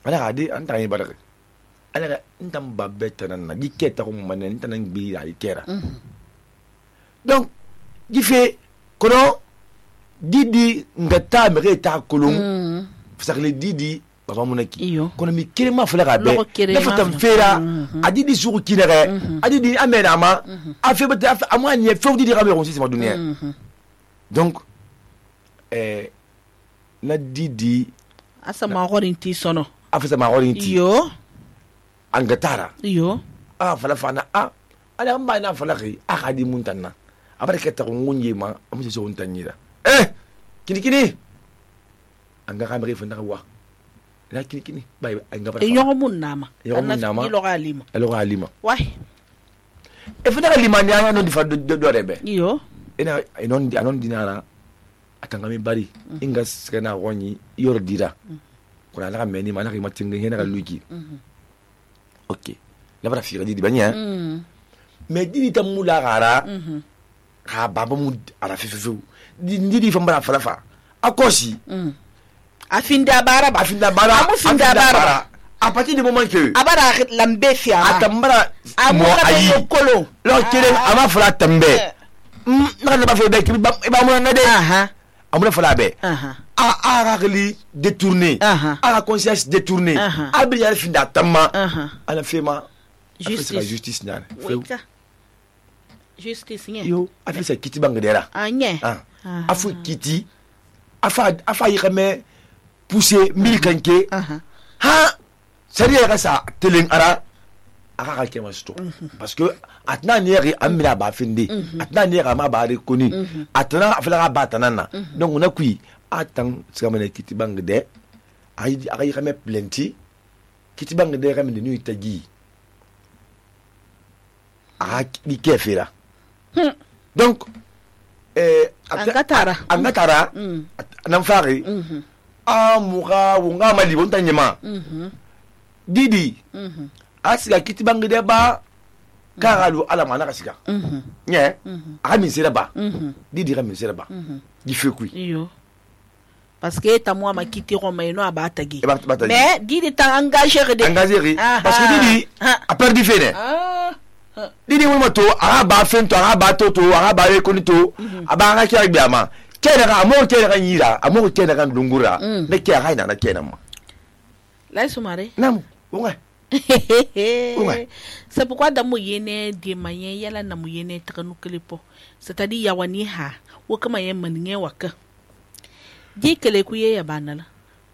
ala ga di anta yi baraka ala ga ntam babbe tanan na di keta ko manen tanan bi ya ikera donc di fe kono didi ngata me ta kolon fasakle didi baba munaki kono mi kirema fala ga be na fatam fera adidi suku kinere adidi amena ma afi bata amani fe didi ga me on sima dunia donc na didi asa ma horinti sono afisa ma horinti yo angatara yo fala fana ala mba na fala ki akadi muntanna abareke ta ngunye ma amuse so untanyira kini anga kamere fana wa la kini bay anga bara yo mun nama ilo galima wai fana galima ni anga no di fa do rebe yo anon dinara atangami bari inga skena woni yordira kuna la meni mana ki matinga hena ga luki ok la bara fi di banya mais di tamula gara ha baba mu ara fifu di fambara falafa akosi afinda bara à partir du moment que abara lambe fia atambara mo ayi kolo lo kire ama fala tambe na ba fe be ki ba mo na de amuna fala be ragli détourné la conscience détournée abiyar finda tamma ala fema justice nyane justice nye yo afisa kiti bangedera nye afu kiti afa yikame pousser milkanke sariya ga sa teleng ara aka kema sto parce que atna nieri amina ba finde atna nieri ma ba rekoni atna afla ba tanana donc on a kui atang sikamane kiti bangede ay yikame plenty kiti bangede kame de nuit tagi di kefira donc angatara nan fari muga wunga mali bonta nyema didi asiga kiti bangede ba karalu ala mana kasika nye ami sereba didi ami sereba di fekui yo parce que ta moi ma kiti roma ino abatagi mais didi ta engagé parce que didi a perdu fene didi mo to ba fento ba toto ba rekonito aba nga kya biama kene ga mo kene ga nyira amo kene ga ndungura ne kya ga ina na kene mo la sumare nam ouais c'est pourquoi dans moyenne des moyens yala na moyenne takanu klipo c'est-à-dire yawani ha wo kama yen maninge waka di kele ku ye ya banala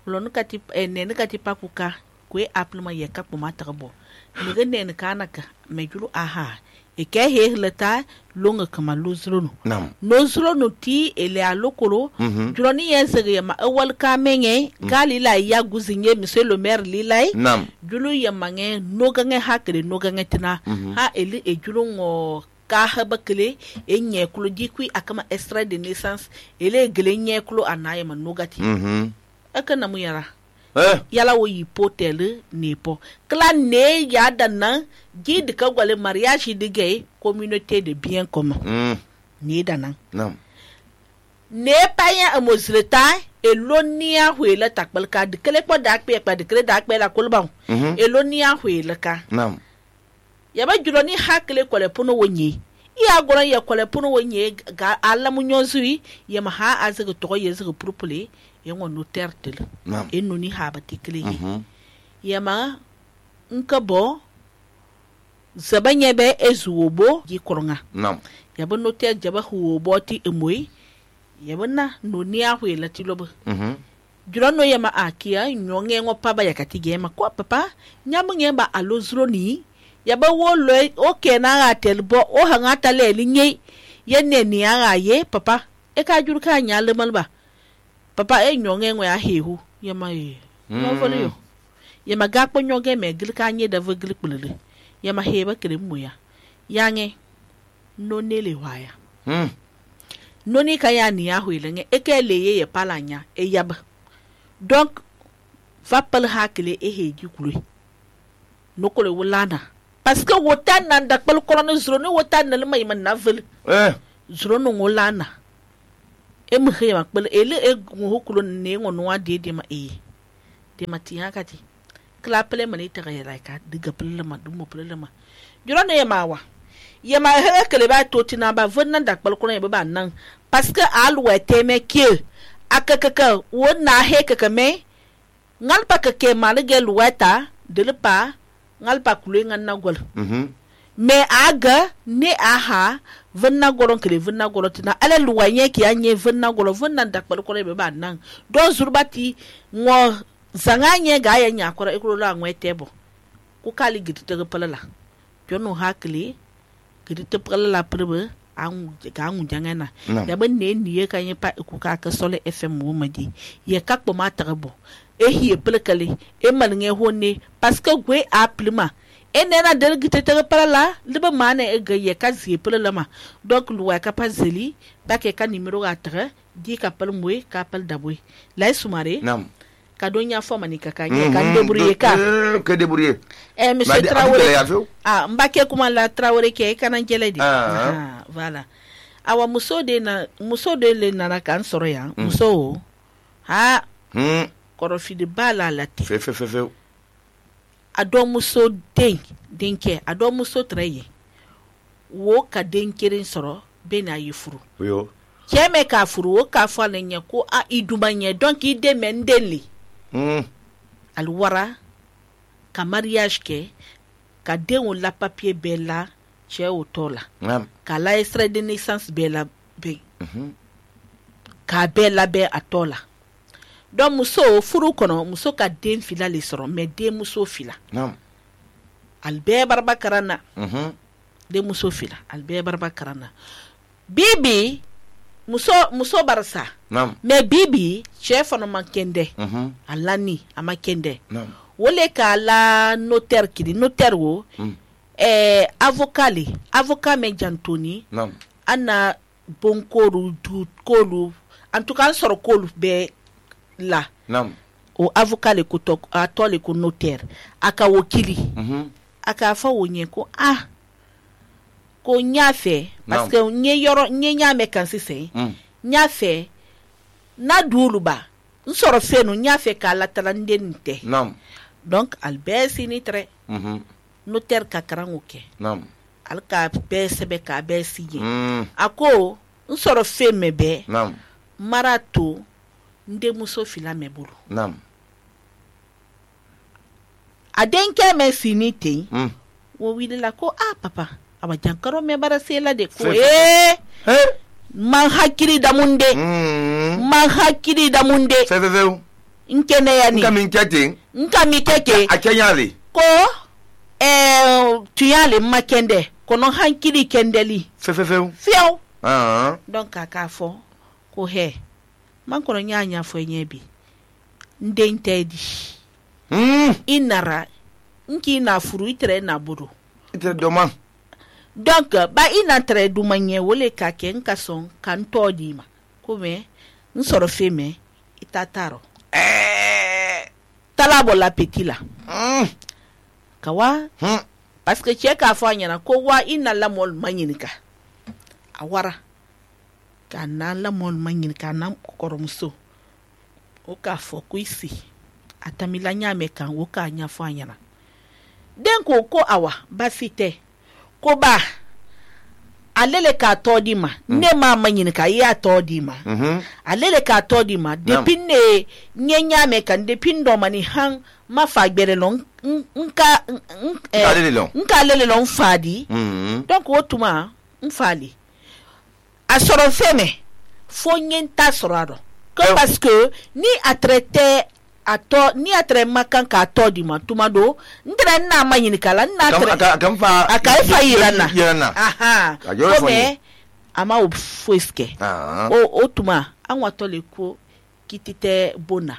lo no kati ne ne kati pakuka ku applement ye ka po matarbo ne gane ne kanaka me julu aha e ke he leta longa kama luzrono nam luzrono ti ele alokolo juroni yensege ma awal ka menye gali la ya guzinye monsieur le maire lilai nam julu ya mange no gange hakre no gange tina ha eli e julu ngo ka habakle e nyekulo dikwi akama extrait de naissance ele gele nyekulo anaye ma nogati aka na mu yara yala wo hipotel nepo kla ne ya dana gid ka gwale mariage de communauté de bien commun ni dana nam ne paya amozreta elonia huela takbal ka de kele po dak pe de kele dak pe la kolban elonia huela ka nam yaba juloni hakle kole puno wonyi iya gora ya kole puno wonyi ga alla munyozui yama ha azaga to yezaga propole yengo notaire tel enuni haba tikle yama nkabo zabanyebe ezuobo gikoronga nam yaba notaire jaba huobo ti emoy yaba na noni ahwela ti lobo julono yama akia nyonge ngo paba yakati gema kwa papa nyamu ngemba alozroni yaba wolo oke na atel bo o hanga tale linye yenne ni ara ye papa e ka juru ka nyale malba papa e nyonge ngwe ahehu yama no folio yama gakpo nyonge me gil ka nye da vgil kulele yama heba kire muya yange no nele waya no ni ka ya ni ahu ilenge e ke leye ye palanya e yaba donc va pal hakle e heji kulu no kole wulana parce que wotan nan da pal kolon zro no wotan nan mai man navel zro no wulana e mu khema pal ele e hukulu ne ngono wa de ma de mati hakati kla pele mani ta ga ka diga pele ma dumo pele ma juro ne yamawa yama he kele ba to tina ba vonnan da kpal ko ne ba nan parce que alwa teme ke akaka wona he kaka me ngalpa kake malige luwata delpa ngalpa kule nganna gol me aga ne aha vanna goron kele vanna golo tina ale luwanye ki anye vanna golo vanna dakpal ko be ba nan don zurbati ngo zanganye ga ya nya kora ikuro la ngwe tebo ku kali gidi te palala jono hakli gidi te palala prebe an ga ngu jangana ya ban ne niye kan ye pa ku ka ka sole fm mo madi ye kakpo ma tarabo e hiye pelkale e malnge honne parce que gwe aplima enena delgite te palala liba mane e ga ye ka zi palala donc luwa ka pa zeli ba ke ka numero ga tra di ka pal moy ka pal daboy lay sumare nam ka donya fo mani ka kanye kan débrouiller que débrouiller monsieur Traoré mbake kuma la Traoré ke kana jeledi voilà awa muso de le nana kan soro ya muso ha korofi de bala lati fe ado muso denke ado muso traye wo ka denkerin soro be na yifuru yo keme ka furu wo ka fa lenya ko a idumanye donc ide mendeli alwara ka mariage ke ka denwo la papier bella che otola ka la extrait de naissance bella be ka bella be atola donc muso furu kono muso ka den fila le soro mais den muso fila albe barba karana de muso fila albe barba karana bibi muso barasa mais bibi chef no makende alani amakende wole ka la notaire kidi notaire wo avocat me jantoni ana bonkoru du kolu en tout cas soro kolu be la o avocat le ko tok atole ko notaire aka wokili aka fa wonye ko ko nyafe parce que nye nyame kan sise nyafe na duluba nsoro fenu nyafe ka la talandente donc albesi ni tre notaire ka karangoke alka besebe ka besiye ako nsoro feme be marato nde muso fila meburu adenke me sinite wo wilila ko papa aba jankaro me barasela de ko man hakiri da munde fe nkene yani nkami keke akanyale ko tuyale makende kono hankiri kendeli fe fiao donc aka fo ko he man kono nyanya fo nyebi ndentedi inara nki na furu itre na buru itre doma donc ba ina tre du manye wole ka ke nka son kan todima kome nsoro feme itataro talabo la petila kawa parce que cheka afanya na ko wa ina la mol manyinika awara kana la mol manyinika na koromso o ka fo kuisi atamila nyame kan wo ka nya fanya na den ko awa basite ko ba alele ka todima ne ma manyini ka ya todima alele ka todima depinde nyenya me kan depindo mani han ma fagbere lon nka lele lon fadi donc wotuma mfali asoro feme fo nyenta sorado que parce que ni a traité ni atre makan ka todima tumado ndra na manyini kala na aka fa yirana kome ama o foiske o tuma anwa to le ko kitite bona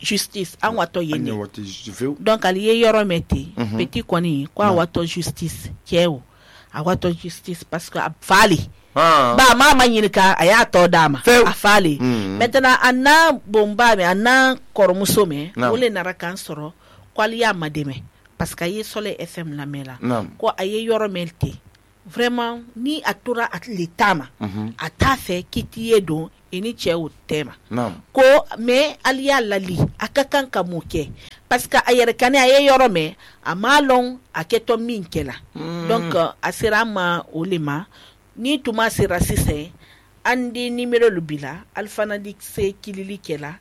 justice anwa to yene donc ali ye yoro meti petit koni ko anwa to justice kiewo anwa to justice parce que fali ba mama nyinka aya to dama afali maintenant anna bomba me anna kormuso me wole narakan soro kwali ya mademe parce que ye sole fm la mela ko aye yoro melti vraiment ni atura at litama ata fe kitiye do ini cɛ o tema ko me aliya lali akakan ka mun kɛ parce que a yɛrɛ kani a ye yɔrɔ mɛn a ma lɔn a kɛtɔ min kɛla donc a sera ma o le ma ni tuma sera sisan an di numéro lu bila alfana di se kilili kɛla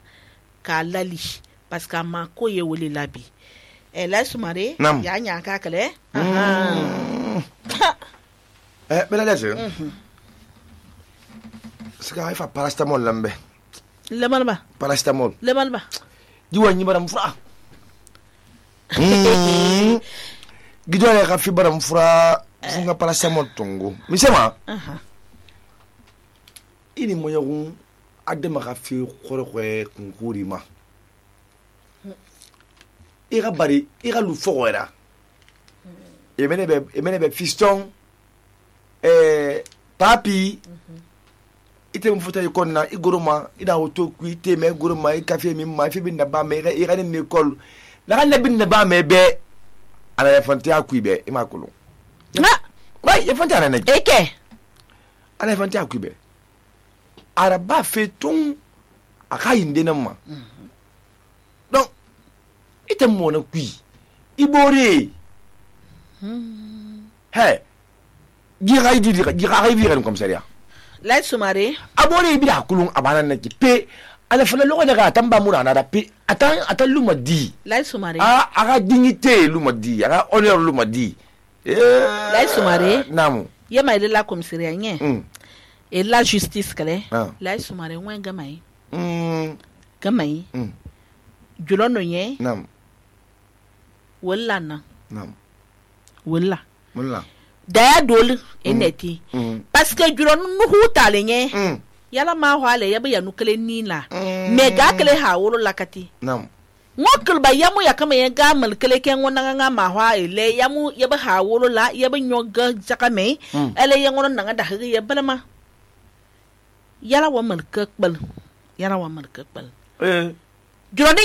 k'a lali parce que a ma ko ye wele labi la sumare ya ɲa ka kɛlɛ bɛlɛ lɛsɛ sika ifa paracetamol lambe lemalba paracetamol lemalba jiwa nyi baram fura gido ya ka fi baram fura funga paracetamol tongo misema ini moyagun adema ka fi khorokwe kunkuri ma ira bari ira lu fogora emene be fiston papi ite mfuta yikonna iguruma ida hoto ku ite me guruma i cafe mi ma fi bin na ba me ira ni école la kan bin na ba me be ala ya fonte aku be e makulu wai ya fonte ana ne eke ala fonte aku be ara ba fe tun aka yinde nan ma donc ite mo na ku ibore he gira ran commissariat la sumare abore bi kulun abana na ki pe ala fala logo daga tamba mura na da pe atan luma di la sumare aga dignité luma di aga honneur luma di la sumare namu yema ile la commissariat nye et la justice kale la sumare wen gamai gamai julono nye nam wala na nam wala daya dole eneti parce que juron nuhu talenye yala ma hwale yabe ya nukele nila me ga kele ha woro lakati nam ngokul ba yamu ya kama ya ga mal kele ken wona nga ma hwa ele yamu yabe ha woro la yabe nyoga jakame ele yangono nanga da hiri ya balama yala wa mal kakbal juron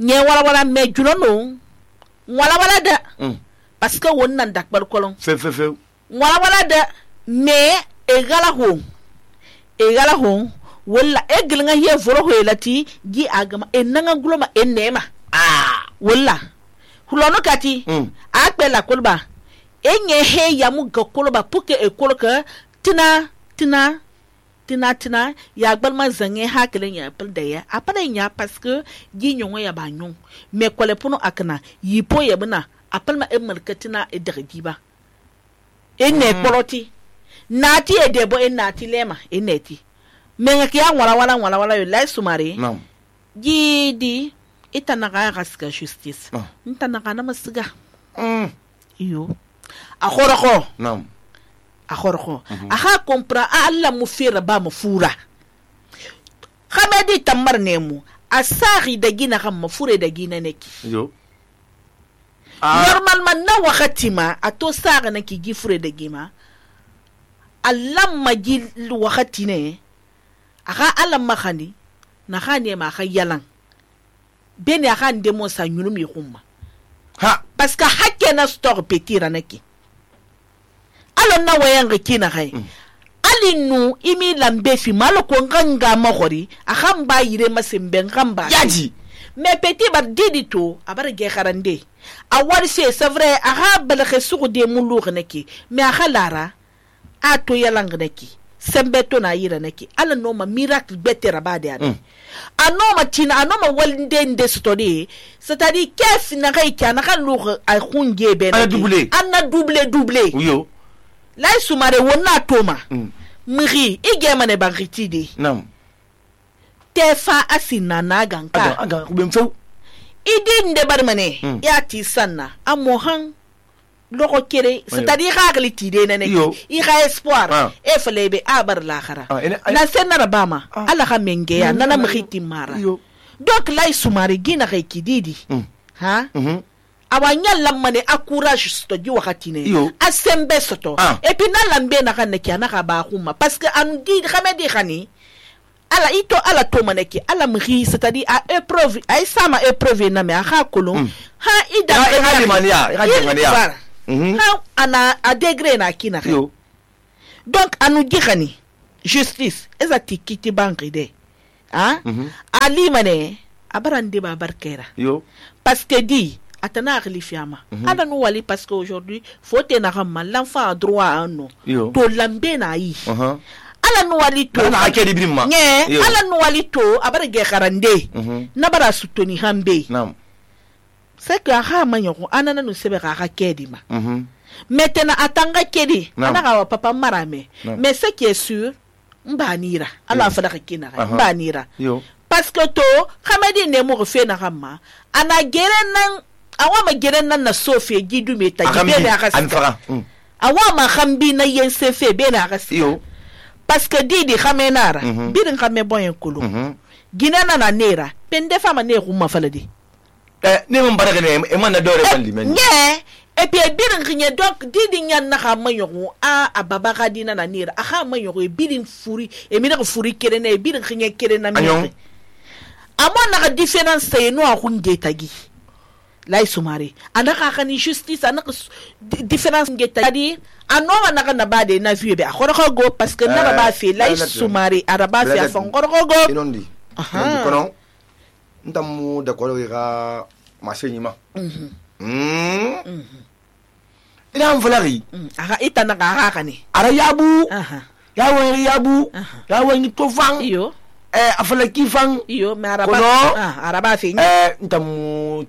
nye wala me juron wala da parce que wonnan dakbar kolon fe wala da me egala ho wala eglanga ye voro ho elati gi agama enanga gloma enema wala hulono kati akpela kolba enye he yamu ga kolba puke e kolka tina ya gbalma zange hakelen ya pel da ya apana nya parce que gi nyongo ya ba nyon me kole puno akana yipo ya bana apalma e malkatina e dagdiba enne poloti nati e debo e nati lema e neti me ngaki ya wala yo la sumare gi di itanaga gaska justice itanaga na masiga iyo akhoroko aha kompra alla mu fira ba mu fura khamedi tamar nemu asari da gina kan mafure da gina neki yo normalement na wakati ma ato sara na ki gifure da gima allam magi wakati ne aka allam makhani na khani ma kha yalan beni aka ndemo sa nyunu mi khumma parce que hakke na store petira neki alon na wayan kina kai alinu imi lambe fi malo ko nganga mahori akam ba yire masembe ngamba yaji me petit bar didito abar ge kharande awar c'est vrai aha balakhe suku de mulugh neki me akhalara ato yalang neki sembe to na yira neki ala no ma miracle betera bade ade anoma tina anoma walinde nde stodi c'est-à-dire kef na kai kana kan lugh ay khunge be ana doublé yo la sumare wona toma miri igemane bagritide nam tefa asina na ganka aga kubemfo idi nde barmane ya ti sanna amohan loko kere c'est-à-dire ragli tide nene i ga espoir e felebe abar l'akhara na senna rabama ala ga mengeya nana mkhiti mara donc la sumare gina ga kididi ha awanya lamane akourage stoji wakati ne asembe soto et puis na lambe na kan neki na ka ba khuma parce que an di khamedi khani ala ito ala to maneki ala mri c'est-à-dire à épreuve ay sama épreuve na me ha kolon ha ida ha ana a degré na kina donc anu gixani justice eza tikiti banki de ali mane abarande ba barkera yo parce que di atana khalifiama ala no wali parce que aujourd'hui faut te na ramma l'enfant a droit à un nom to lambe na yi ala no wali to na akedi brimma ala no wali to abara ge kharande na bara sutoni hambe nam c'est que ha manyo anana no sebe ga kedi ma maintenant atanga kedi ana ga papa marame mais ce qui est sûr mbanira ala fada kina mbanira parce que to khamedi ne mo fe na ramma ana gerenan awama gerenan na sofie gidu meta gibele akasa awama khambi na yense fe be na akasa parce que didi khamenara birin khame boyen kulu ginana na nera pende fama ne kuma faladi ne mon baraka ne e man na dore bandi men et puis birin khine donc didi nyan na khama yogo ababa kadina na nera khama yogo birin furi e mina furi kere na birin khine kere na mi amon na différence c'est no akunge tagi lay sumare anaka kani justice anaka différence ngetadi anoma naka na bade na vieux be akhoro go parce que na ba fait lay sumare araba fi afon go inondi kono ntamu de ko ga masenyima ina mfalari aga itana ga kani ara yabu yawo ni tofan iyo afala kifan iyo me araba araba fi ntamu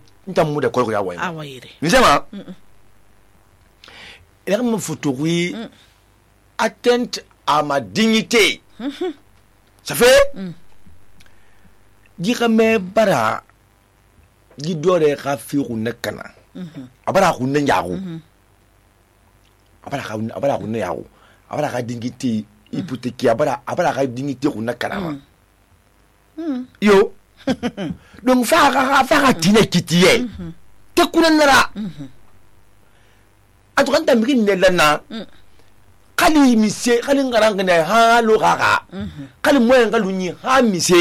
de ko ya wa awayire nisema ila me photographe atteinte à ma dignité ça fait me bara dore ka fi runna kana abara runna yago abara runna yago abara ka dignité hypothéquée abara ka dignité runna kana yo donc fa tine kitiye te kunanara atukanta mikin ne lana kali mise kali ngaranga ne ha lo gaga kali moyen kalunyi ha mise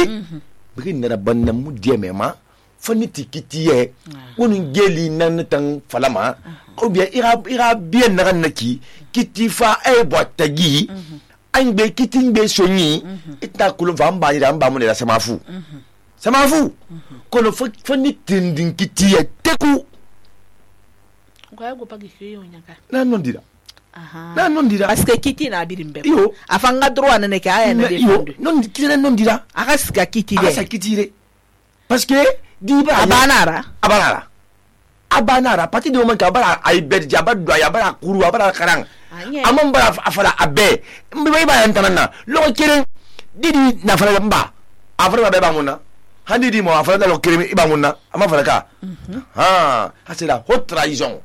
mikin ne banna mu diemema fani tikitiye wonu geli nan tan falama ou bien ira bien naranaki kitifa e botagi angbe kitingbe sonyi ita kulun fa mbani da mbamu ne la samafu kono fani tindin kitiye teku kwa go pagi hiyo nyaka na nondira na nondira parce que kiti na birimbe yo afanga droit na ne ka aya na defendu non kitire nondira akasika kitire parce que diba abanara parti de moment ka bara ay bedja abadwa ya bara kuru abara karang amon bara afala abe mbe ba yantanana lo kire didi na fala mba afala ba muna handi di mo afala lo kire iba muna ama fala ka c'est la haute trahison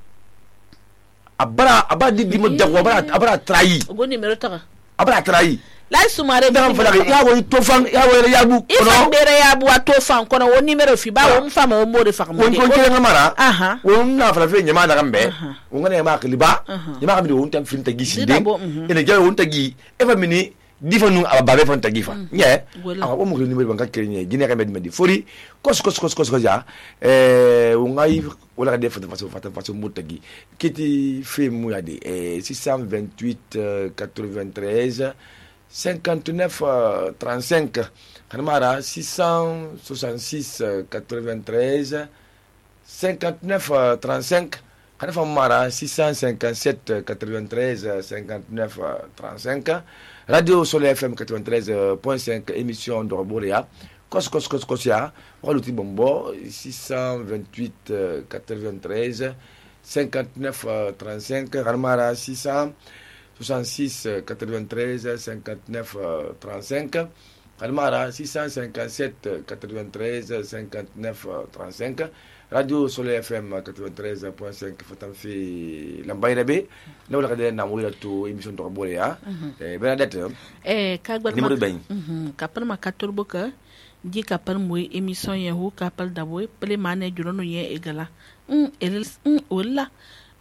abara didi mo dagwa abara trahi go numéro ta abara trahi la sumare ba fala ya wo tofan ya wo yabu kono bere yabu atofan kono wo numéro fi ba wo mfama wo mode fa mo ko kire ngamara wo na fala fe nyama daga mbe wo ngane ma kliba nyama mi wo ntam fin tagi sinde ene jaw wo ntagi eva mini difanu ababe fon tagi fa nye wo mo numéro banka kire nye gine ka med fori kos ja wo ngai wala def façon mo tagi kiti fe mu ya de 628 93 59 35 Kanamara 666 93 59 35 Kanamara 657 93 59 35 Radio Soleil FM 93.5 émission de Roborea Kos ya Waluti Bombo 628 93 59 35 Kanamara 666 93 59 35 Kalmara 657 93 59 35 Radio Soleil FM 93.5 Fatamfi Lambayrabe na wala kadena na wala to émission de Roborea Bernadette kagbal numéro ben kapal makator boka di kapal moy émission yahu kapal daboy ple mané jurono ye egala wala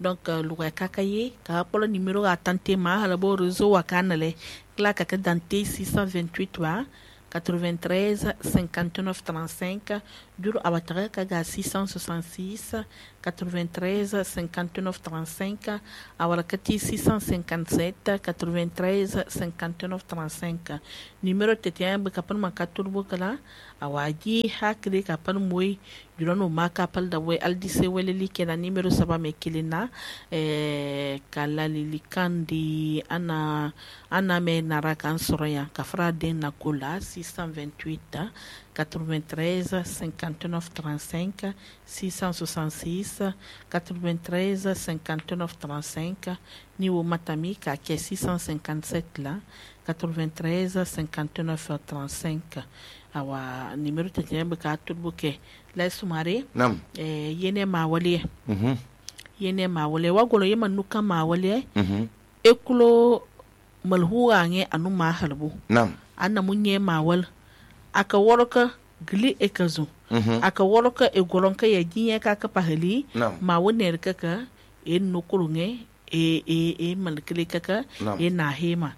donc luga kakaye ka polo numéro a tante ma halabo réseau wa kanale kla kaka dante 628 wa 93 59 35 juru awataga kaga 666 93 59 35 awarakati 657 93 59 35 numéro tete be kapan makatur bukala awaji hakri kapan moy jurano makapal da way aldise weleli kena numéro saba me kilina kala lilikandi ana me narakan soroya kafra den na kola 628 93 59 35 666 93 59 35 ni wo matami ka ke 657 la 93 59 35 awa numéro tete be ka turbuke la sumare nam yene mawale yene mawale wagolo yema nuka mawale ekulo malhuwa nge anu ma halbu nam anna munye mawal aka woroka gili ekazu aka woroka egolonka ya jinya ka ka pahali ma wonne kaka en nukurunge malkili kaka na hema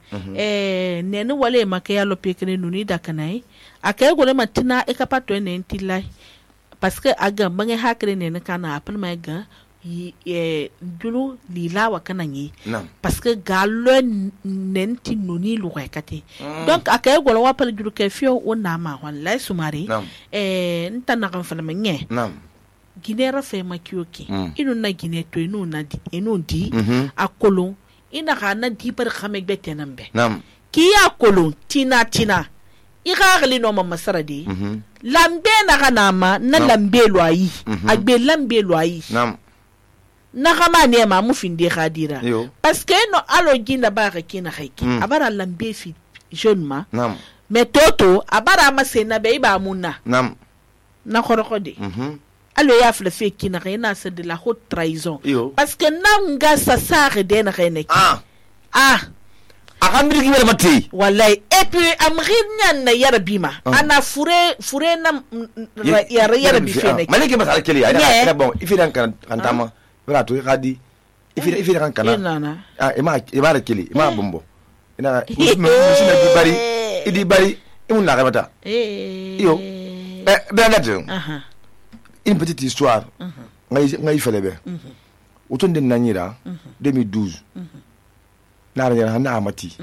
nenu wale makaya lopekene nuni dakanai aka egole matina ekapato ne ntilai parce que aga bange hakre ne kana apal maiga julu lilawa kananyi parce que galo nenti nuni luwekati donc akay golo wapal julu ke fio wona ma wallahi sumari nta na kan fala menye ginera fe makioki inu na gine to inu na di inu di akolo ina kana di par khame bete nambe ki akolo tina igarli no mama saradi lambe na kanama na lambe lo ayi agbe lambe lo ayi na kama ne ma mu finde khadira parce que no alo ginda ba ka kina haiki abara lambe fi jeune ma mais toto abara ma se na be ba munna na korokode alo ya fle fe kina na se de la haute trahison parce que nanga sa sare de na rene akamri ki wala mati wallahi et puis amrinyan na yarabima ana fure na yarabi fene maliki masala keli ina bon ifidan kan tama wala to khadi ifidan kan kana ima keli ima bombo ina musina bari idi bari imun na rabata yo ben là une petite histoire ngai felebe utonde nanyira 2012 na amati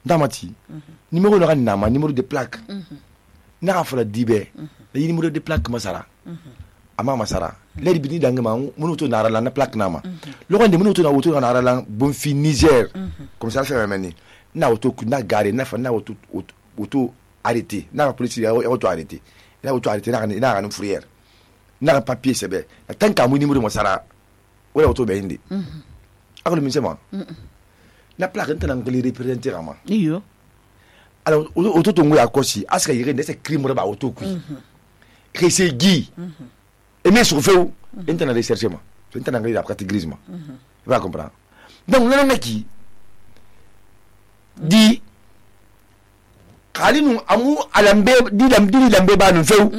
ndamati numéro na nama numéro de plaque na fala dibe le numéro de plaque masara ama masara le bini dangama munu to na la na plaque nama lo gonde munu to na woto na la bon fi Niger comme ça fait meni na woto na gare na fa na woto arrêté na police ya woto arrêté na woto arrêté na na fourrière na papier sebe tant ka mu numéro masara wala woto be indi akolo minsema na plaque ntana ngeli représenter ama iyo alors auto tongo ya kosi aska yire ndese crime ba auto ku resegi et mais sur feu ntana rechercher ma ntana ngeli la catégorisme va comprendre donc nana meki di kalinu amu alambe di lambe ba no feu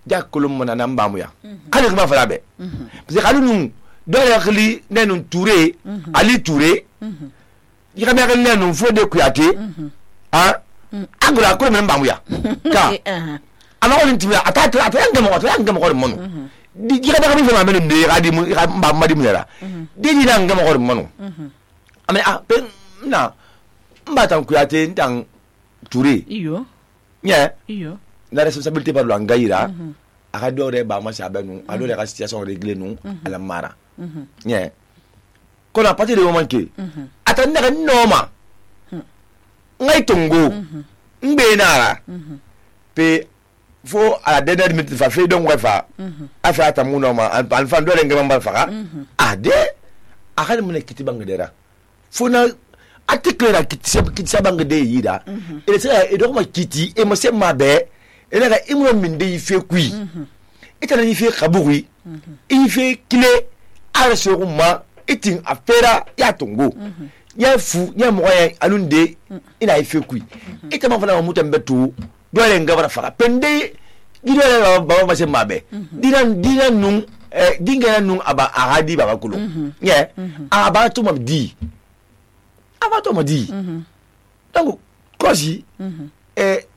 ja kolum mana namba mu ya kale ma fala be parce que kalinu do ya khali nenu Touré Ali Touré yika me kan nenu fo de kuyate agura ko men bamuya ka ama ko ntimia atata yanga mo mono di yika da ko ma men de gadi mu ba madi mu yara de di nanga mo mono ame pe na mbata kuyate ndang Touré iyo la responsabilité par lo ngaira aka dore ba ma sa benu adore ka situation réglée nous à la mara qu'on a partir de moment que attendez que noma ngai tongo mbe nara pe fo à la dernière minute fa fait donc fa afa atamu noma al fan dore ngam ba fa ade akade mun kiti bangedera fo na article la kiti sabangede yida et c'est et donc ma kiti et mo se mabe et là imro minde yi fe kui et tana yi fe kaburi yi fe kile arseruma itin afera ya tongo ya fu ya moya alunde ina yi fe kui et tama fana muta mbetu dole ngabara fara pende gidole baba ma se mabe dinan nun dinga nun aba ahadi baba kulo ye aba to mabdi aba to mabdi donc kosi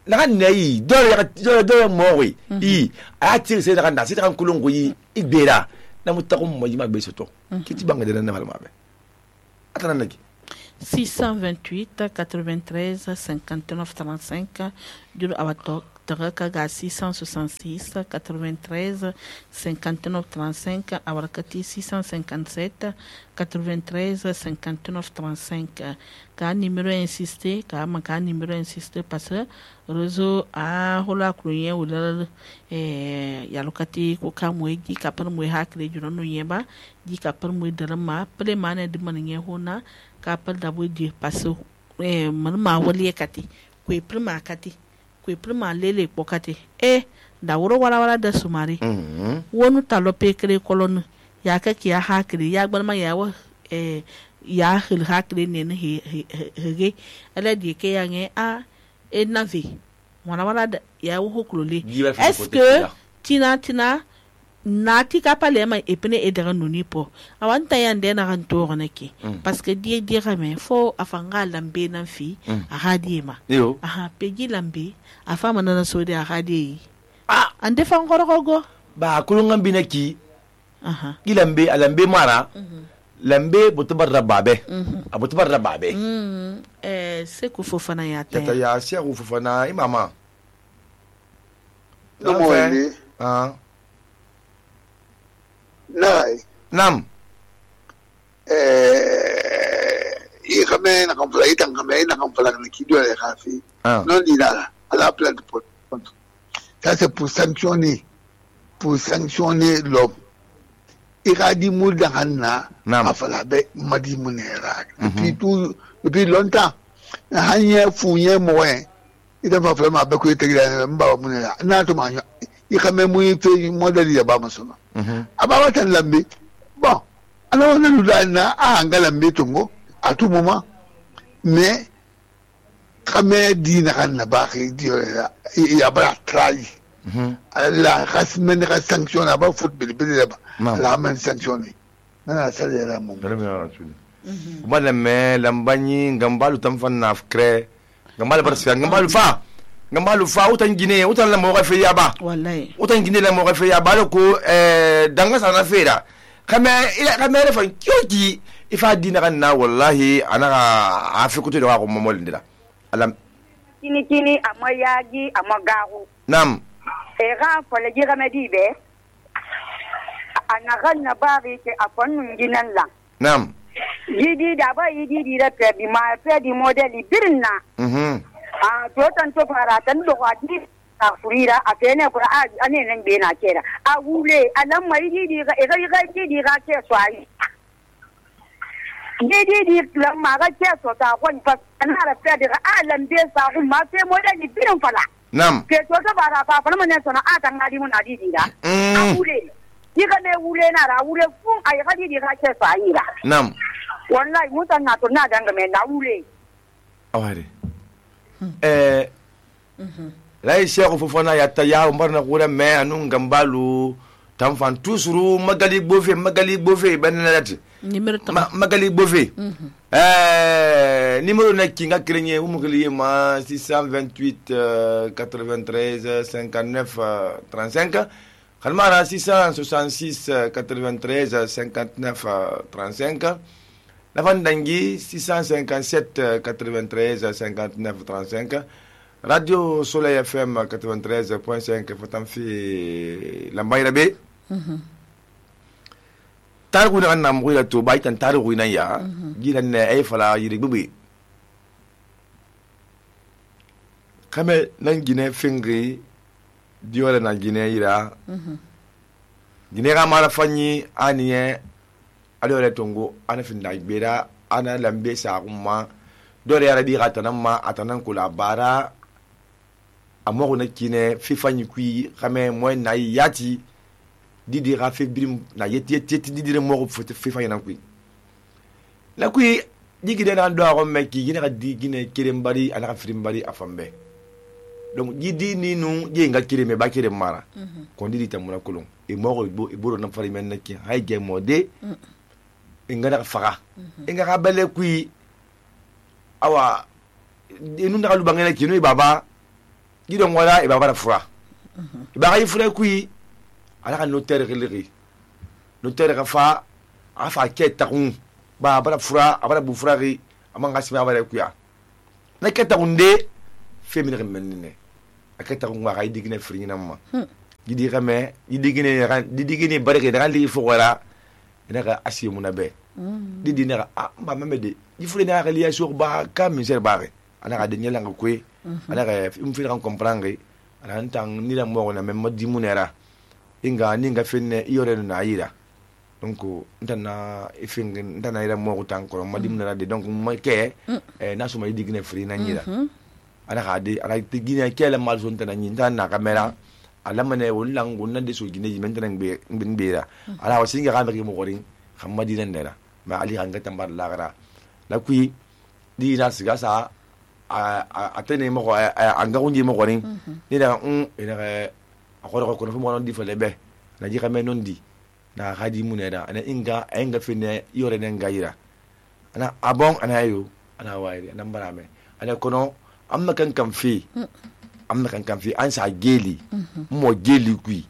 naga nayi dole mowi I a tiri se naga na se kan kulungu yi igbera na mutaku mo yima gbe soto kiti banga de na malma be atana nagi 628 93 59 35 juru awato Taraka ga 666 93 59 35 awarakati 657 93 59 35 ka numéro insisté ka numéro insisté parce que réseau a hola kruye wala yalokati ko ka moyi ka par moyi hakre juro no yeba di ka par moyi darama pele mane de manye hona ka par da boy parce man ma wali kati ko prima kati ko prima lele pokati da wuro wala da sumari wonu talope kre kolon ya ka ki ya hakre ya gbalma ya wa ya hil hakre ne hege ala di ke ya nge a navi wala da ya wo hoklole est-ce que tina nati ka pale ma epene edara nuni po awanta yande na kan to nake parce que die rame fo afanga lambe nan fi a hadima aha pegi lambe afama na so de a hadi ande fa ngoro go ba kulungan binaki gilambe alambe mara lambe botubar rababe abotubar rababe se ku fofana ya ta ya se ku fofana imama no mo Nam. I kame na kampala itang kame na kampala na kido ya kafi. Non di là à la place de pot. Ça c'est pour sanctionner l'homme. Il a dit moulda hanna afala be madi munera. Depuis longtemps. Hanya funye moyen. Il a pas vraiment be ko tegira mba munera. Na to manyo. I kame mu fe modeli ya ba masoma. Ababa tan lambe bon alors on nous donne lambe tongo à tout moment mais comme dit na ba il y a pas trahi la rasmen sanction là ba football la men sanctionné na ça là mon madame lambani ngambalu tamfanna afkre ngambalu barsia ngambalu fa utan Guinée utan la mo refe yaba wallahi utan Guinée la mo refe yaba ko danga sana fera kama refa kyoki ifa dina kan na wallahi ana afikuto da ko momol ndira alam kini amayagi amagaru nam era fole gira medibe ana ganna bari ke afan nginan la nam yidi da ba yidi da pe di modeli birna to tan to fara tan do wadi a furira a fene fura a ne nan be na kera a wule alan mai di ga ke swai di lamma ga ke so ta kon fa an hara fe da alan be sa ma fe modeli birin fala nam ke to ta fara fa fa mun sana a tan ngadi mun adi da a wule diga ne wule na ra wule fun ai ga di ga ke swai da nam wallahi mutan na to na danga me na wule aware la Cheikh Fofana ya taya umbarna kura me anun gambalu tamfan tusuru magali bofe banalati magali bofe numéro na kinga krenye umukliye ma 628 93 59 35 kalmara 666 93 59 35 la Vandangi 657 93 59 35 Radio Soleil FM 93.5 Fatamfi Lambayra B Targu na nam wila to baitan targu na ya gidan ne ay fala yiri bubi kame nan gine fingri diole na gine yira gine ga mala fanyi aniye adore tongo ana finda gbera ana lambe sa umma dore ya rabi gatanan ma atanan kula bara amoro na kine fifanyi kui kame mo na yati didi rafe brim na yeti didi mo fifanyi na kui la kui digide na ndo aro meki gine ka digine kirembari ana ka frimbari afambe donc didi ni nu je nga kireme ba kirem mara ko didi tamuna kolon e mo go iboro na fari men neki hay ge mode ingana faga inga ka bele kui awa inu ndaka lubangena kinu baba gidon wala iba bara fura iba ga fura kui ala ka notaire gelegi notaire ka fa afa ke takun ba bara fura abara bu fura ri amanga sima bara kuya na ke takunde femine menene aketa ko ga digine frina ma gidi game digine bare ke daga li fo wala ina ka asimu na be didi na ba memede ifure na ga liya sur ba ka min ser bare ana ga de nyela nga kwe ana ga imfi kan comprendre ana ntang ni la mo na memma dimunera inga ninga fenne yore na ayira donc ntana ifingen ntana ira mo tan ko madimuna de donc mo ke na so mai digine frina nyira ana ga de ala digine kele mal so ntana nyinta na kamera ala mane wulang wonna de so gine yimenta nang be ngbira ala wasinga ga be mo gorin khamadi nan dera ma ali hanga tambar lagara la kui di na siga sa a tene mo anga unji mo gorin ni da ina ga akoro ko no mo non di fele be na ji kame non di na hadi muneda ana inga fine yore nan gaira ana abon ana yo ana wairi ana barame ana kono amma kan fi an sa geli mo geli kui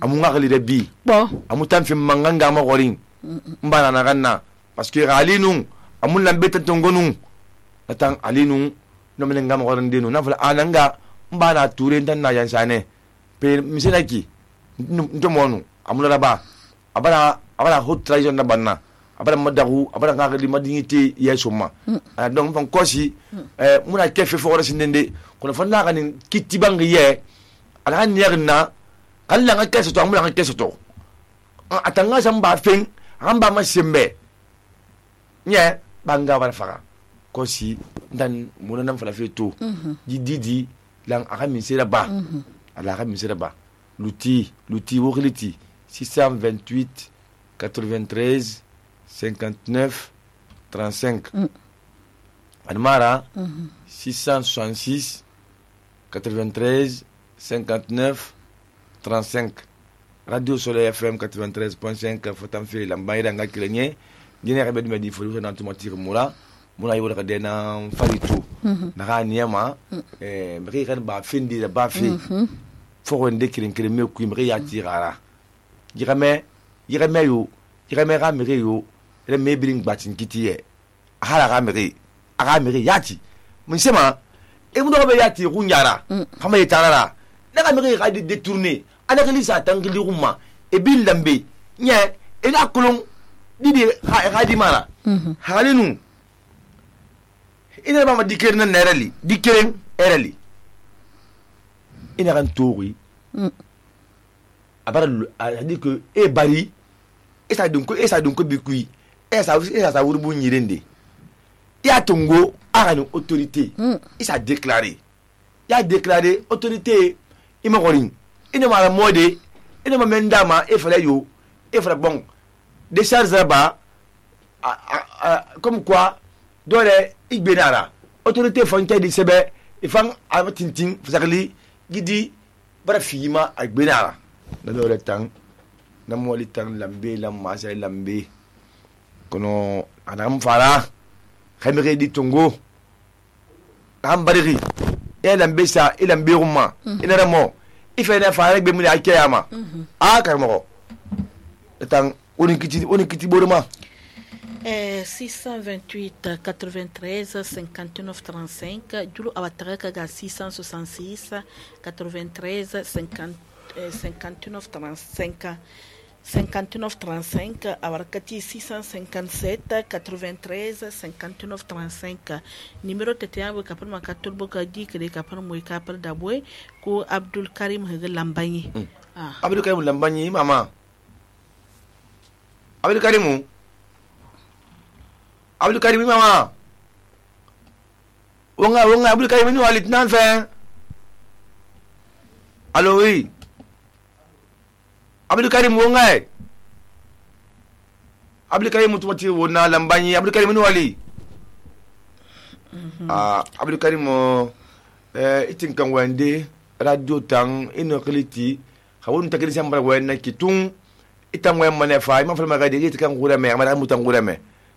amu ngali de bi amu tan fi manganga mo gorin mbana na ganna parce que alinu amu lambe tongonu natan alinu no men ngam gorin dinu na fala ananga mbana ture tan na yansane pe misenaki ntomonu amu la ba abara hot trahison na banna abara madagu abara ngali madinité yesuma donc fan kosi muna kefe fo rasi ndende kono fanna ganin kitibangi ye ala han yerna kala nga keso to amula nga keso to atanga samba fen amba masembe nye banga bara fara kosi dan muna nan fala fe to didi lang aka misera ba ala aka misera ba l'outil wokliti 628 93 59 35 Admara 666 93 59 35 Radio Soleil FM 93.5 Fotam Fili Lambaïda Ngakilenye Gine Rebe du Medi Folu na automatique mula yiwo ka dena faritu na niama mri kan ba findi da ba fi fo wonde kirin me ku mri ya tirara yirame yo ga mri yo le me biling batin kitiye hala ga mri yati mun sema e mun do be yati kunyara kama yitarara na ga mri ga détourner ana ga lisa tangili rumma e bil lambe nye e la kulun didi ha di mara halinu ina ba ma dikere na nerali dikere erali ina kan tori abara a dit que e bari esa dunko bikui esa wurubu nyirende ya tongo arani autorité isa déclaré autorité ima gorin ina mala mode ina ma mendama e fala bon décharge ba comme quoi dole igbenara autorité fonte di sebe ifan amatintin fazakli gidi bara fima agbenara na dole tang na moli tang lambe lamma sai lambe kono anam fara khamire di tongo am bariri e lambe sa e lambe ruma ina ramo ife na fara gbe mu ya kiyama karmo tang oni kiti boruma 628 93 59 35 Julo awataraka ga 666 93 59 35 59 35 awarakati 657 93 59 35 numéro tete kapal makatul boka di kede kapal moy kapal dabwe ko Abdul Karim Lambanyi Abdul Karim Lambanyi mama Abdul Karim mama wonga Abdul Karim ni walit nan fe allo oui Abdul Karim wonga Abdul Karim mutuwati wona Lambanyi Abdul Karim ni wali Abdul Karim itin kan wande radio tang ino kliti khawun takiri sambara wena kitun itan wen manefa ma fala magadi itan gura me amara mutan gura me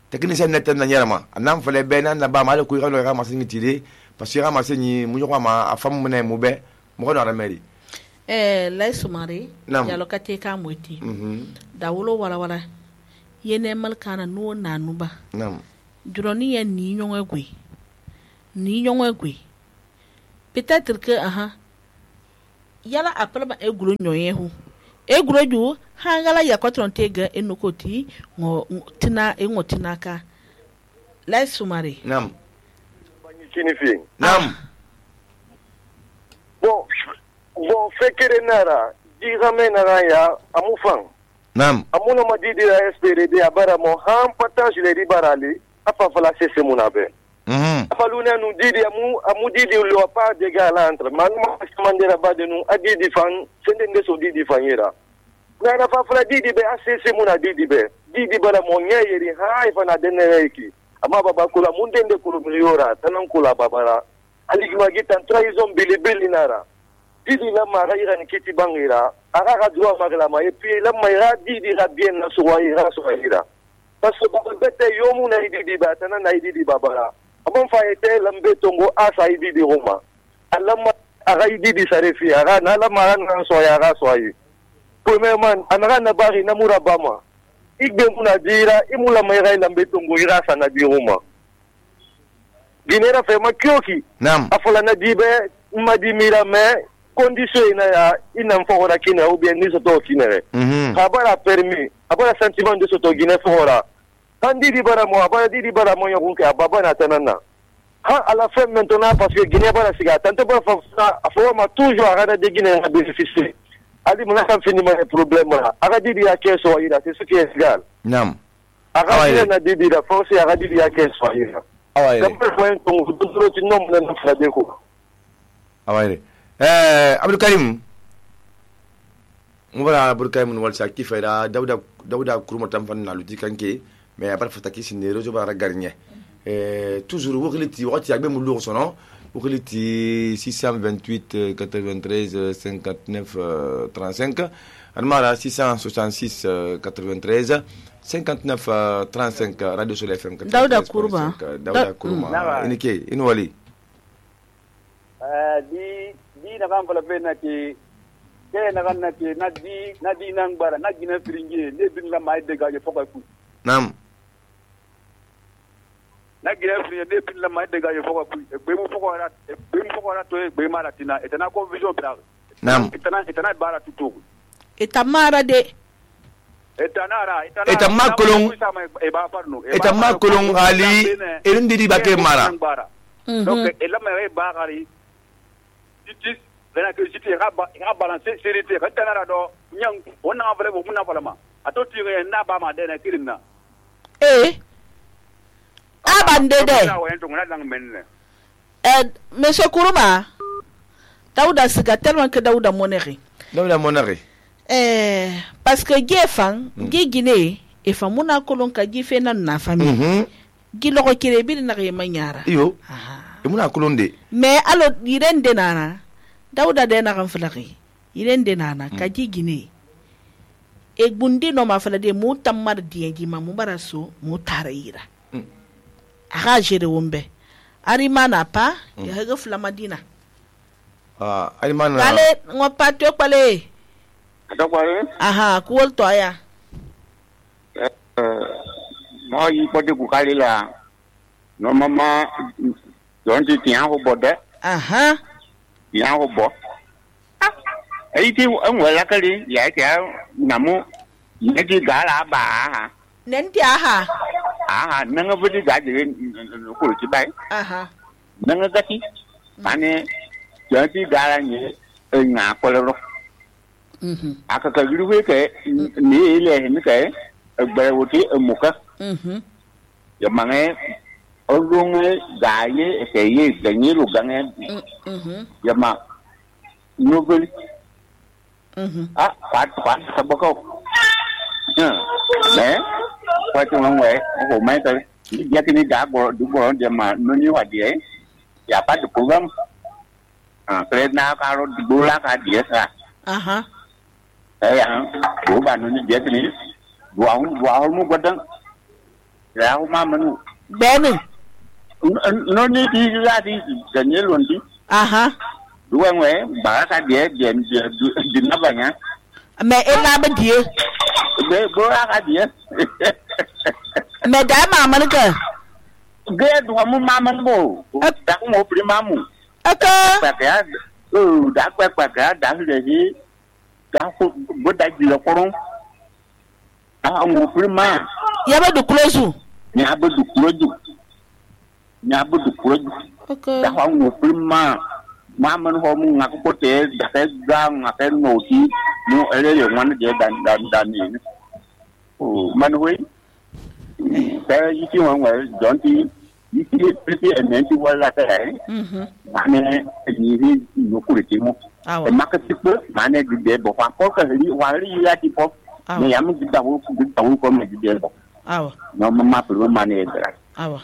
technicien netan na nyarama anam fale bena na ba mala ku galo ga masin tire parce que ma senyi mu ko ma afam ne mu be mo ko na meri lai sumare ya lokate ka moti da wulo wala yene malkana no nanuba duroni ya ni nyongwe peut-être que yala apelba eguro nyoyehu eguro ju hangala ya kwatronte ga enokoti ngo tina ka lai sumare nam bon fekere nara digame nara ya amufang nam amuna madidi la SPRD abara mo ham partage le ribarali afa fala sese munabe afaluna nu didi amu didi lo pa de gala entre manuma mandera bade nu adidi fan sende so didi fanyera na fa fala didi be asese muna didi bara mo nyeri ha ifa na deneki ama baba kula mundende kulu miliora tanan kula babara aligma gitan trahison bilibili nara didi la mara ira ni kiti bangira aga droit magla ma et puis la mara didi la bien na soira parce que baba bete yomu na didi ba tanan na didi babara abon fa ete lambe tongo asa didi roma alama aga didi sarefi aga na la mara na soya aga soyi premièrement anaga na bari na murabama igbe muna dira imula mara lambe tongo ira sana di roma ginera fe makyoki afola na dibe madimira me condition ina ya ina mfora kina ou bien ni soto kinere abara permis abara sentiment de soto gine fora andi di bara mo yokunke ababa na tanana ha à la fin maintenant parce que Guinée bara siga tanto ba fa ma toujours ara de Guinée na bénéficier ali mona kan finiment le problème là ara di ya keso ira c'est ce qui est égal nam ara na di da force ara di ya keso ira comme point ton tout le nom na fa de ko awai Abdou Karim mubara Abdou Karim wal sakti fayda Dawda kuruma tam fan na luti kanke mais après fataki sine rejo bara garnya toujours wogiliti wati agbe mu lo sono wogiliti 628 93 59 35 almara 666 93 59 35 Radio Soleil FM Dawda kuruma inike inwali di na kan fala fe na ke na kan na ke na di nan bara na gina firinge ne bin la mai de gaje foka ku nam na gina firinge ne bin la mai de gaje foka ku be mu foka ra to be mara tina etana ko vision bra nam etana bara tutu etamara de etama kolong ali erindi di bake mara donc ela mai ba gari justice bena que justice ga balancer sécurité ka tanara do nyang wona avale bo muna falama ato tire na ba ma de na kirinna abande de monsieur Kuruma Dawda siga tellement que Dawda moneri parce que gefan gigine e famuna kolon ka gife na na famille giloko kire bi na re manyara yo muna kolonde mais alo yirende nana Dawda de na kan flaki yirende nana ka gigine e gundi no ma fala de mu tamar diengi ma mu baraso mu tarayira aga jere wombe ari mana pa ya ga flamadina ari mana kale ngopa to pale kuwol to aya no yi pode ku kale la no mama don ti tian ho bode tian ho bo ai ti an wala kale ya ta namu ne ti gala ba nen ti nanga budi ga de ko ti bai nanga gati ane ya ti gala ni nga ko lo aka ka giruwe ke ni ile ni ke gbe wuti muka ya mange olunge gaye ke ye ganyi lu gange ya ma nobel pat sabako pat ngwe ko mai ta ya kini da go du go de ma no ni wa die ya pat program kredna ka ro dula ka die sa của bà nó dễ cái này vào mu quật đó rau ma mình bé mình no ni di la di ganye londi aha duwe ba ka die di na banya me ina ba die be bo ka die me da mama ka ge du mu mama bo da mo prima mu aka pa ka da pa ka da le da ko bo da di lo koron mo prima ya ba du close nya ba du close okay da mo prima mama no mu ngako pote da ka ga ngaka no ti no ele le wan de dan ni o man we ka yi ti wan wa don ti yi ti pretty and nanti wala ta mane ni no ku ti mo e makati ko mane de bo fa ko ka ri wa ri ya ti po ne ya mu da wo ko me de bo awa no mama pro mane dra awa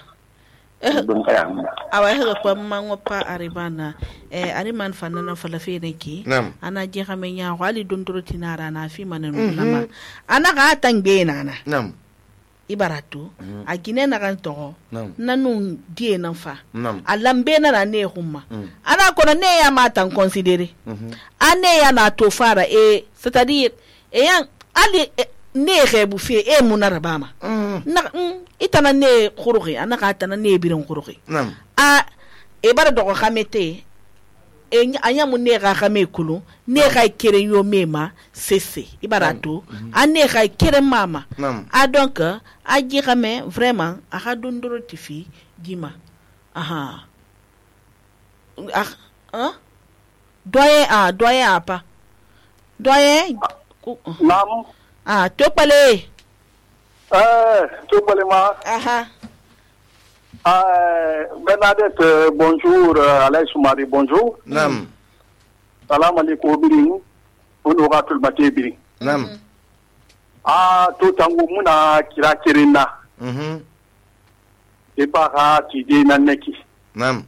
awa hega kwa mango pa aribana ani man fanana falafe ne ki ana je xamenya wali dondoro tinara na fi manenu nama ana ga tangbe nana nam ibaratu a gine na kan to nanu die nan fa a lambe na ne humma ana kono ne ya matan considere ane ya na to fara c'est-à-dire yan ali ne rebu fe munara bama na itana ne khurugi ana ka tana ne birin khurugi a bara do khamete anya mun ne ga khame kulu ne ga kere yo mema sese ibarato ane ga kere mama a donc a ji khame vraiment a ga dondoro tifi dima aha doyen apa doyen nam topale topale ma aha Bernadette, bonjour. Alain Soumari, bonjour. Nam. Salam alaikum biring. Onora tul bate biring. Nam. To tangu muna kira kirina. E para ti de naneki. Nam.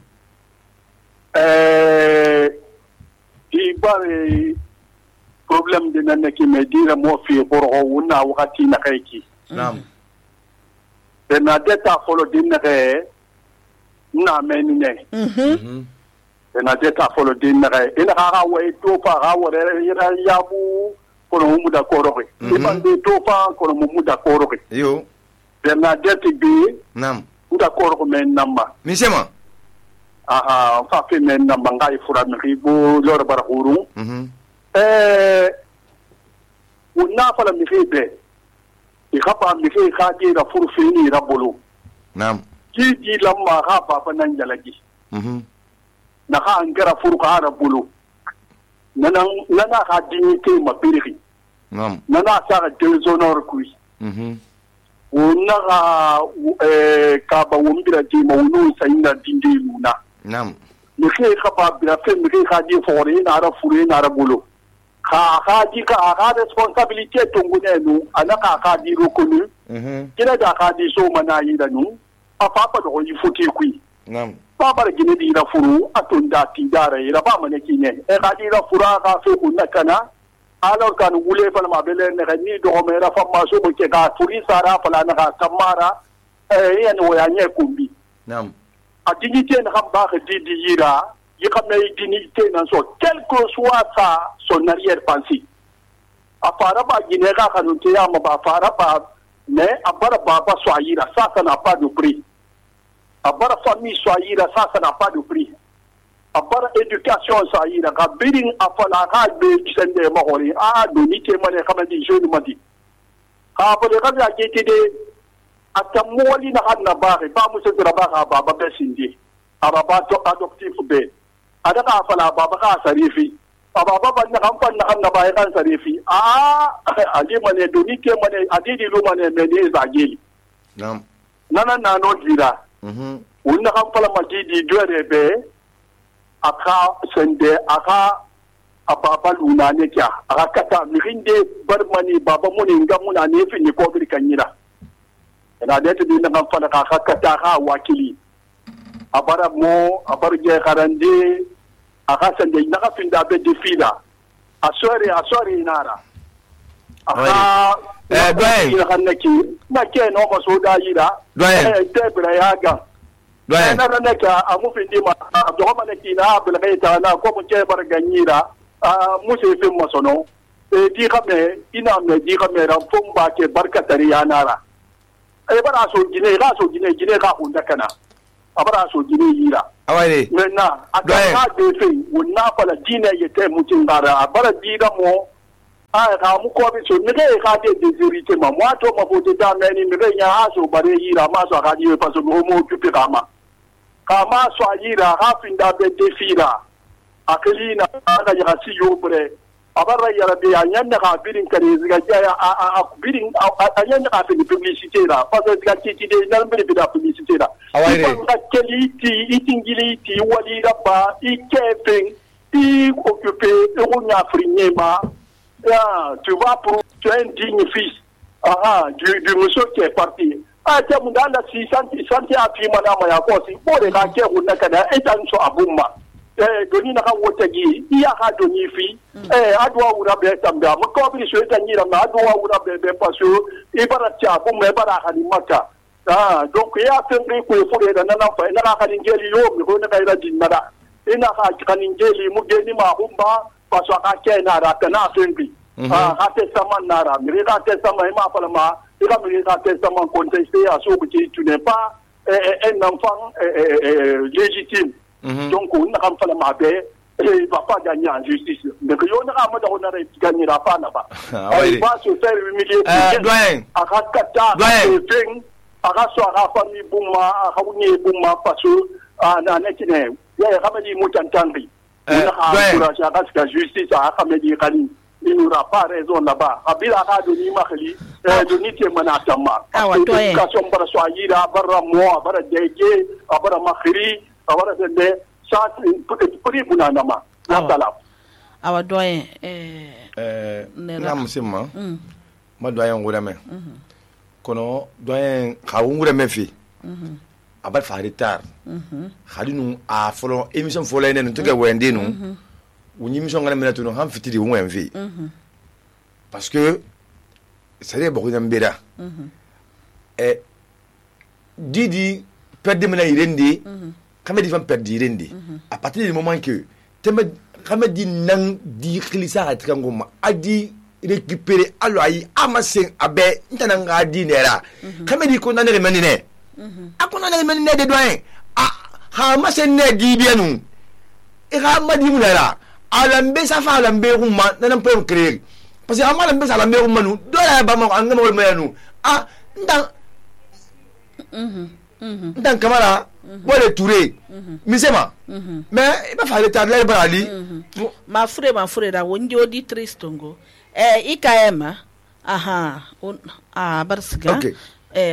Ti bare problem de naneki me dira mo fi boro wona wakati na kaiki. Nam. Bernadette a follow dinere na menine. Bernadette a follow dinere. Ina ha wa to pa ha wa ira yabu kono mu da koroke. Iban de to pa kono mu da koroke. Yo. Bernadette bi nam da koroke men namba. Ni sema. Aha, fa fe men namba ngai fura mi bo lor bara huru. Una fala mi febe. Ikapa mike khaji da furfini rabulu nam ji lamma ha baba nan jalagi na ha angara furqa rabulu nana ha dignité ma birri nam nana sa déshonore kui wonna ka ba wombira ji ma wonu sayna dindi luna nam mike khapa bira fe mike khaji fore na ra fure na rabulu Kadi ka responsabilité tongune nu anaka kadi reconnu kina da kadi so mana yi da nu afa do yi futi kui nam baba gine di ra furu atunda ti dara ira ba mane kine kadi ra fura ka fe kunna kana alors kan wule fal ma bele ne ni do me ra fa ma so bo ke ka furi sara fala na ka kamara yani wo ya nye kumbi nam a dignité na ba ka di yira il y a une dignité dans son, quel que soit son arrière-pensée. A Faraba, Guinéra, Kanoutéa, Faraba, mais à Barababa, Soaïra, ça n'a pas de prix. À Bara famille, Soaïra, ça n'a pas de prix. À Bara éducation, Soaïra, à Biring, à Falara, Sende Mahori, à Donité, Mané, Kamadi, je ne m'en dis. À Bara, à Gétide, à Tamouali, Nahanabari, pas Moussa de Rabara, Baba Bessindi, à Baba adoptif B. Adaka fala baba ka sarifi baba ban na kan na bai kan sarifi ali mane doni ke mane adidi lu mane me ne zageli nam nana na no jira unna kan fala majidi dore be aka sende aka ababa luna ne kya aka kata mirinde barmani baba muni ngamuna ne fi ni ko bir kanyira ina da tidi na kan fala ka kata ka wakili abara mo abarje karande akasan de naka finda be defila asori inara doyen na ke no ko so da yira tebra yaga na na ka amu findi ma do ma ne kina bel gaita na ko mu ke bar ganyira mu se fe masono di kame ina me di kame ran fon ba ke barkatari yanara bara so gine ka hunda kana abara so gine yira awale menna aga de fe wonna fala dine yete mutin bara abara dida mo ka mu ko bi so ne ka de desirite ma mo to ma fote ta meni ne ya aso bare yira ma so ka di pa so mo tupe kama so yira ha finda be defira aklina aga ya si yobre abara yara be anyanda ka birin kare ziga ya a birin anyanda ka fini publicité la parce que ziga titi de nan be da publicité la awale ka keliti itingiliti wali raba ikefen i occupé eronya frinyema tu vas pour tu es un digne fils du monsieur qui est parti tiens mon dans la 600 a fi mana ma ya ko si bo de ka ke hunna kada etan so abumma doni na ka wotagi iya ha doni fi adwa wura be tamba mo ko bi so etan yira ma adwa wura be paso ibara cha abumma ibara ha ni maka donc ya tembe ko fure da nan fa ina ka ngeli yo mi ko na ka ira jinnada ina ka kaningeli mu geni ma humba paso ka ke na ra kana tembe ha te saman nara mi ka te saman ma fa ma il a mis un testament contesté à ce que tu n'es pas un enfant légitime. Donc, on n'a pas la paix et il ne va pas gagner en justice. Mais que on ne gagnera pas là-bas. Il va se faire humilier. À Rakata, à Rassoara, famille Bouma, à Raouni Bouma, parce que Nanekine, il y a Ramadi Moutantangri. On a encouragé à la justice à Ramadi Kali. Il n'aura pas raison là-bas. Abila a donné Mahali, donné Manatama. L'éducation para Swahira, bara Moa, bara Dege, bara Mahiri, bara Dende, ça, pour Bunanama. Natala. Awa doyen, Namusima, ma doyen Gourame. Kono, doyen Kaourame fi. Abat Faritar. Hadinu a follow émission following and took a Wendino. Ou ni mission ngana tuno ham fitiri ou envi parce que c'est beaucoup d'ambera didi perdre mena irendi quand di fam perdre irendi à partir du moment que teme quand di nang di khilisa atkangoma adi récupérer allo ayi amasen abe ntananga di nera quand di ko nanere menine akona nanere menine de doyen ha masen ne di bienu e ga madi munara alambe safa alambe rumma nan pe créer parce que amalambe salambe rumma nu do la ba ma ngam wol mayanu ndan kamara wole touré misema mais ba fa le tadler barali ma frère da wonji odi tristongo ikayema barsiga okay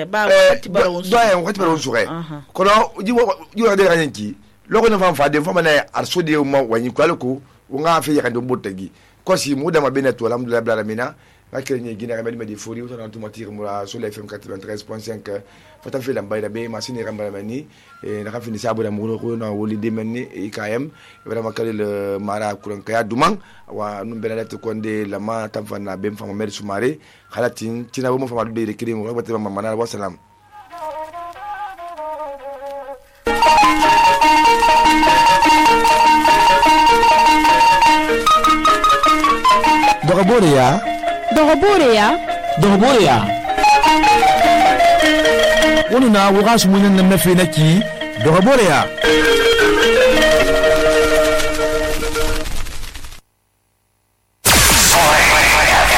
ba wakati baron suwe kono jiwa de ranki loko na fa de fama na arsode mo wanyi kwaloko nga fe yakando botagi ko si mu dama beneto alhamdulillah bla mina akrenye gina remedi medi fori auto automatique mura sur la FM 93.5 fata fe lamba da be machine ramba mani na ka fini sabu da mu ko na woli de menni IKM vraiment kale le mara kuran kaya dumang wa num bela to konde la ma tamfa na be fama mer sumare khalatin tina bo mo fama de rekri mo ba te mama manal wa salam Dogoboreya wani na wuga su munyan nan na fe naki Dogoboreya